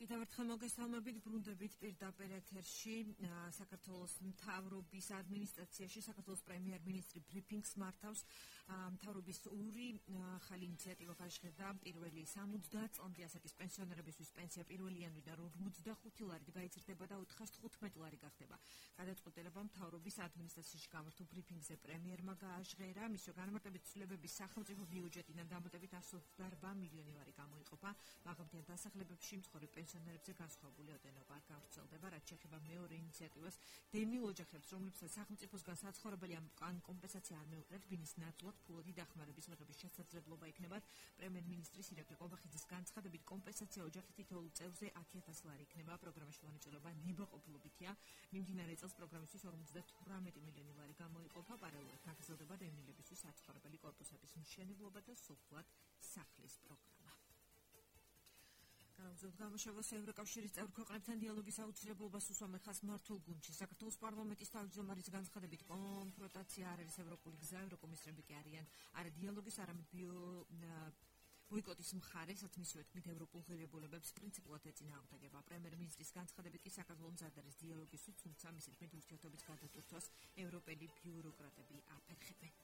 კიდევ ერთხელ მოგესალმებით, ბრუნდებით პირდაპირ ეთერში საქართველოს მთავრობის ადმინისტრაციაში საქართველოს პრემიერ-მინისტრი ბრიფინგს მართავს. მთავრობის ორი ახალი ინიციატივა გაჟღერდა. პირველი 70 წლამდე ასაკის პენსიონერებისთვის პენსია 1 იანვრიდან 45 ლარით გაიზრდება და 415 ლარი გახდება. გადაწყვეტილება მთავრობის ადმინისტრაციაში გამართულ ბრიფინგზე პრემიერმა გააჟღერა. მისო განმარტებით ცვლილებების სახელმწიფო ბიუჯეტიდან დამატებით 128 მილიონი ლარი გამოიყოფა. მაღალმთიან დასახლებებში მცხოვრებ პენსიონერებზე განსხვავებული ოდენობა გავრცელდება, რაც შეეხება მეორე ინიციატივას. დემილ ოჯახებს, რომლებსაც სახელმწიფოსგან საცხოვრებელი ან კომპენსაცია არ მეუღლეთ, ბინის ნაცვლად ფულადი დახმარების მიღების შესაძლებლობა იქნებათ. პრემიერ-მინისტრის ირაკლი ყობახიძის განცხადებით, კომპენსაცია ოჯახის თითოეულ წევრზე 10,000 ლარი იქნება. პროგრამაში მონაწილეობა ნებაყოფლობითია. მიმდინარე წელს პროგრამისთვის 58 მილიონი ლარი გამოიყოფა. პარალელურად გაგრძელდება დევნილებისთვის საცხოვრებელი კორპუსების მშენებლობა და სოფლად სახლის პროგრამა. გამოსავალს ევროკავშირის წევრ ქვეყნებთან დიალოგის აუცილებლობას უსვამენ ხაზს მმართველ გუნდში. საქართველოს პარლამენტის თავმჯდომარის განცხადებით, კონფრონტაცია არ არის ევროპული გზა, ევროკომისრები კი არიან არა დიალოგის, არამედ ბოიკოტის მხარე, სადაც მისივე თქმით ევროპულ ღირებულებებს პრინციპულად ეწინააღმდეგება. პრემიერ-მინისტრის განცხადებით კი საქართველოს მზად არის დიალოგისთვის, თუმცა მისი თქმით ურთიერთობის გადატვირთვას ევროპელი ბიუროკრატები აფერხებენ.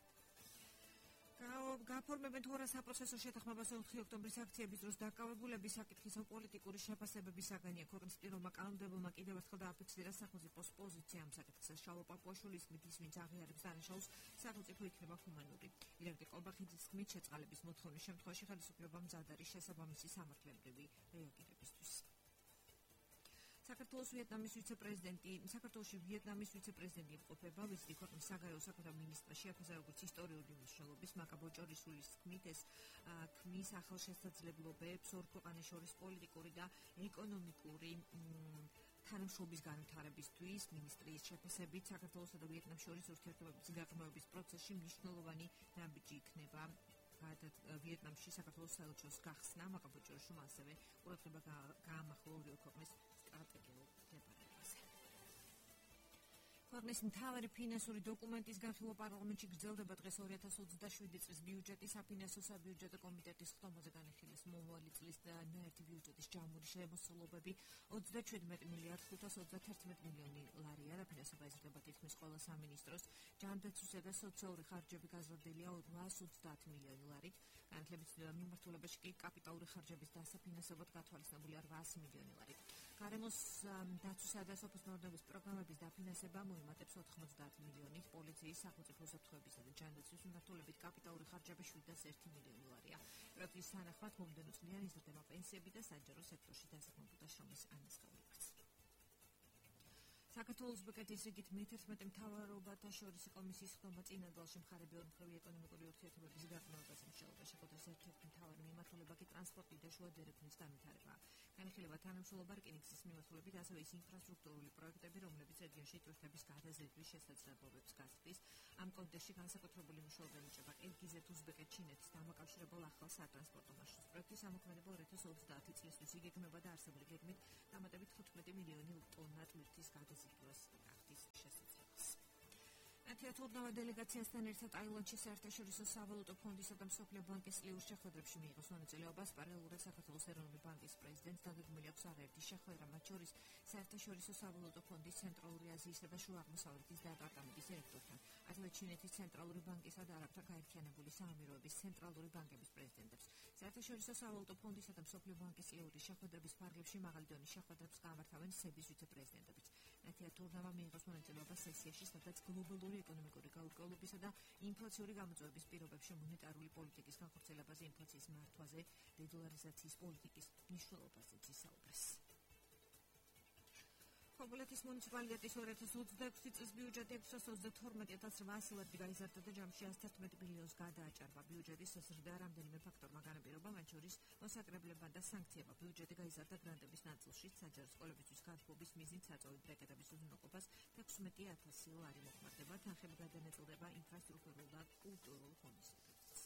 გაფორმებენ თუ არა საპროცესო შეთანხმებას 4 ოქტომბრის აქციების დროს დაკავებულების საკითხის პოლიტიკური შეფასებების საგანია. ქვეყნის პირველმა კანონმდებელმა კიდევ ერთხელ დააფიქსირა სახელმწიფოს პოზიცია ამ საკითხზე. შალვა პაპუაშვილის თქმით, ის ვინც აღიარებს დანაშაულს, სახელმწიფო იქნება ჰუმანური. ირაკლი ყობახიძის თქმით, შეწყალების მოთხოვნის შემთხვევაში ხელისუფლება მზად არის შესაბამისი სამართლებრივი რეაგირებისთვის. საქართველოში ვიეტნამის ვიცე-პრეზიდენტი იმყოფება, ვიზიტი ქვეყნის საგარეო საქმეთა მინისტრიაში, აქაზე როგორც ისტორიული მნიშვნელობის მაკაბოჭორისულის თქმით, ეს ქმნის ახალშესაძლებლობებს ორ ქვეყანას შორის პოლიტიკური და ეკონომიკური თანამშრომლობის განვითარებისთვის. მინისტრის შეფასებით, საქართველოსა და ვიეტნამს შორის ურთიერთობების გაღრმავების პროცესში მნიშვნელოვანი ნაბიჯი იქნება. ვიეტნამში საქართველოს საელჩოს გახსნა, მაკაბოჭორიშვილ ასევე ყურადღება გაამახვილა ორივე ქვეყნის სტრატეგიულ მდებარეობაზე. ქვეყნის მთავარი ფინანსური დოკუმენტის განხილვა პარლამენტში გრძელდება. დღეს 2027 წლის ბიუჯეტის საფინანსო საბიუჯეტო კომიტეტის ხდომაზე განიხილეს მომავალი წლის ნაერთი ბიუჯეტის ჯამური შემოსავლობები 37 მილიარდ 531 მილიონი ლარია. დაფინანსება იზრდება თითქმის ყველა სამინისტროს. ჯანდაცვისა და სოციალური ხარჯები გაზრდილია 830 მილიონი ლარით. განათლების მიმართულებაში კი კაპიტალური ხარჯების დასაფინანსებლად გათვალისწინებულია 800 მილიონი ლარი. გარემოს დაცვისა და სოფლის პროგრამების დაფინანსება მოიმატებს 90 მილიონით. პოლიციის, სახელმწიფო უსაფრთხოებისა და ჯანდაცვის მიმართულებით კაპიტალური ხარჯები 701 მილიონი ლარია. პროექტის თანახმად მომდევნო წლიდან იზრდება პენსიები და საჯარო სექტორში დასაქმებულთა შრომის ანაზღაურებაც. საქართველოს უზბეკეთის რიგით მე-11 მთავრობათა შორის კომისიის ხდომა წინადალში მხარეები ორმხრივი ეკონომიკური ურთიერთობების გაღრმავებას მსჯელობა. შეხვედრის ერთ-ერთი მთავარი მიმართულება კი ტრანსპორტი და შუა დერეფნის განვითარებაა. განიხილება თანამშრომლობა რკინიგზის მიმართულებით, ასევე ის ინფრასტრუქტურული პროექტები, რომლებიც რეგიონში ტურისტების გადაზიდვის შესაძლებლობებს გაზრდის. ამ კონტექსტში განსაკუთრებული მნიშვნელობა ენიჭება ყირგიზეთ-უზბეკეთ-ჩინეთის დამაკავშირებელ ახალ სატრანსპორტო მარშრუტს. პროექტის ამოქმედება 2030 წლისთვის იგეგმება და არსებული გეგმით დამატებით 15 მილიონი ტონა ტვირთის გადაზიდვას გახდის შესაძლებელი. თეატრალურ დელეგაციასთან ერთად ტაილანდში საერთაშორისო სავალუტო ფონდისა და მსოფლიო ბანკის წლიურ შეხვედრებში მიიღოს მონაწილეობას. პარალელურად საქართველოს ეროვნული ბანკის პრეზიდენტს დაგეგმილი აქვს არაერთი შეხვედრა, მათ შორის საერთაშორისო სავალუტო ფონდის ცენტრალური აზიისა და შუა აღმოსავლეთის დეპარტამენტის დირექტორთან, ასევე ჩინეთის ცენტრალური ბანკისა და არაბთა გაერთიანებული საამიროების ცენტრალური ბანკების პრეზიდენტებს. საერთაშორისო სავალუტო ფონდისა და მსოფლიო ბანკის წლიური შეხვედრების ფარგლებში მაღალი დონის შეხვედრებს გამართავენ სების ვიცე-პრეზიდენტებიც. თეატრალურმა მიიღოს მონაწილეობა სესიაში, სადაც გლობალური ეკონომიკური გაურკვევლობისა და ინფლაციური გამოწვევების პირობებში მონეტარული პოლიტიკის განხორციელებაზე, ინფლაციის მართვაზე, დედოლარიზაციის პოლიტიკის მნიშვნელობაზე ისაუბრეს. ხობულეთის მუნიციპალიტეტის 2026 წლის ბიუჯეტი 622,800 ლარით გაიზარდა და ჯამში 111 მილიონს გადააჭარბა. ბიუჯეტის საზრდა რამდენიმე ფაქტორმა განაპირობა, მათ შორის მოსაკრებლებმა და სანქციებმა. ბიუჯეტი გაიზარდა გრანტების ნაწილში, საჯარო სკოლებისთვის განხილვის მიზნით საწვავი ბრეკეტების უზრუნველყოფას 16,000 ლარი მოხმარდება. თანხები გადანაწილდება ინფრასტრუქტურულ და კულტურულ ღონისძიებებს.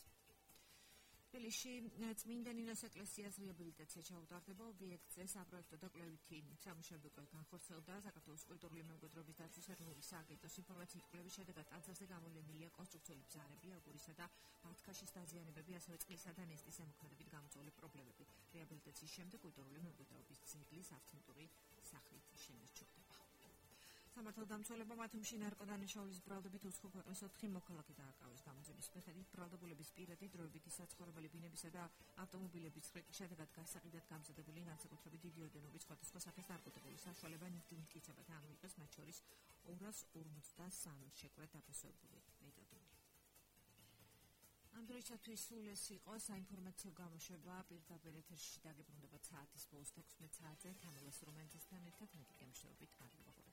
თბილისში წმინდა ნინოს ეკლესიას რეაბილიტაცია ჩაუტარდება ობიექტზე საპროექტო და კვლევითი სამუშაოები განხორციელდა საქართველოს კულტურული მემკვიდრეობის დაცვის ეროვნული სააგენტოს ინფორმაციის კვლევის შედეგად ტანსაცმელზე გამოვლენილია კონსტრუქციული ბზარები, აგურისა და ბათქაშის დაზიანებები, ასევე წყლისა და ნესტის ზემოქმედებით გამოწვეული პრობლემები. რეაბილიტაციის შემდეგ კულტურული მემკვიდრეობის ძეგლის ავთენტური სახით შემორჩება. სამართალდამცველებმა მათუმში ნარკოდანაშაულის ბრალდებით უცხო ქვეყნის 4 მოქალაქე დააკავეს. გამოძიების მიხედვით ბრალდებულების პირადი დროებითი საცხოვრებელი ბინებისა და ავტომობილების ხრიკის შედეგად გასაყიდად გამზადებული განსაკუთრებით დიდი ოდენობის სხვადასხვა სახის ნარკოტიკული საშუალება ნივთმკიცებათა ანუ იყოს მათ შორის 253 შეკვეთ დაფასებული მეტადონი. ამ დროისათვის სულ ეს იყო საინფორმაციო გამოშვება პირდაპირ ეთერში დაგებრუნდება საათის ბოლოს 16 საათზე თანილას რომანტესთან ერთად მე გემშვიდობით.